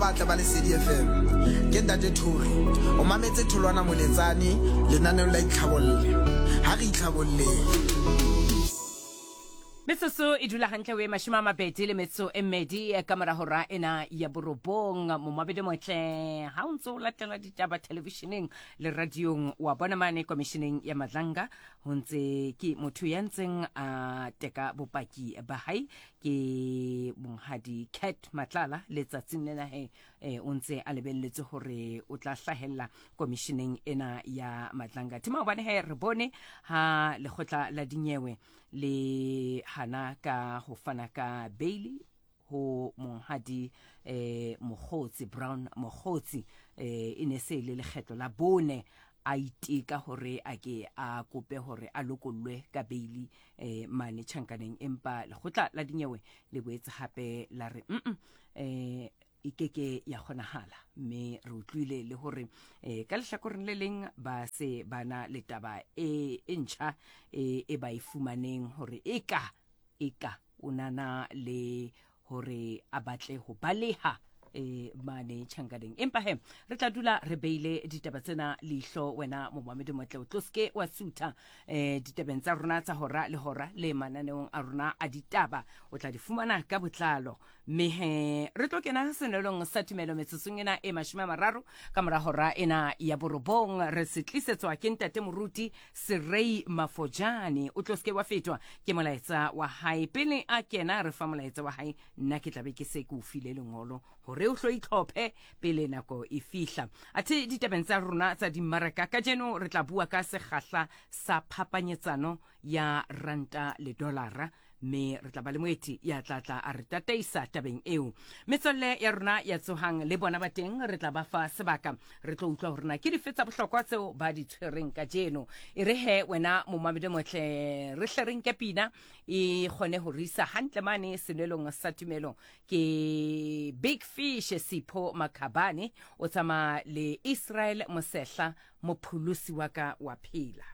Batle ba Lesedi FM. Ke Ntate Thori. O mametse Tholwana Moletsane lenaneong la Itlhabolle. Ha re itlhabolleng. Metsotso e dula hantle o e mashome a mabedi le metso e mmedi ka mora hora ena ya borobong. Momabedi motle, ha o ntse o latela ditaba televisheneng le radiong, wa bona mane komisheneng ya Madlanga ho ntse ke motho ya ntseng a teka bopaki ba hae ke monghadi Cat Matlala. Letsatsing lena he o ntse a lebelletse hore o tla hlahella komisheneng ena ya Madlanga. Thema hobane he re bone ha lekgotla la dinyewe le hana ka ho fana ka bail ho monghadi Mokgotsi Brown Mokgotsi, e ne se le lekgetlo la bone a iteka hore a ke a kope hore a lokollwe ka beili mane tjhankaneng, empa lekgotla la dinyewe le boetse hape la re mm e ke ke ya kgonahala. Mme re utlwile le hore ka lehlakoreng le leng ba se ba na le taba e ntjha e ba e fumaneng hore e ka o nana le hore a batle ho baleha mane tjhankaneng. Empa he re tla dula re beile ditaba tsena leihlo. Wena momamedi motle, o tlo seke wa sutha ditabeng tsa rona tsa hora le hora le mananeong a rona a ditaba, o tla di fumana ka botlalo. Mme he re tlo kena senelong sa tumelo metsotsong ena e 30 ka mora hora ena ya borobong. Re se tlisetswa ke ntate moruti Serei Mafojane. O tlo seke wa fetwa ke molaetsa wa hae. Pele a kena re fa molaetsa wa hae, nna ke tlabe ke se ke o file lengolo hore o hlo itlhophe pele nako e fihla. Athe ditabeng tsa rona tsa dimmaraka kajeno re tla bua ka sekgahla sa phapanyetsano ya ranta le dollara, mme re tla ba le moeti ya tla tla a re tataisa tabeng eo. Metswalle ya rona ya tsohang le bona ba teng, re tla ba fa sebaka, re tlo utlwa hore na ke dife tsa bohlokwa tseo ba di tshwereng kajeno. E re he wena momamedi motle, re hle re nke pina e kgone ho re isa hantle mane senwelong sa tumelo. Ke Big Fish Sipho Makhabane o tsamaya le Israel Mosehla, mopholosi wa ka wa phela.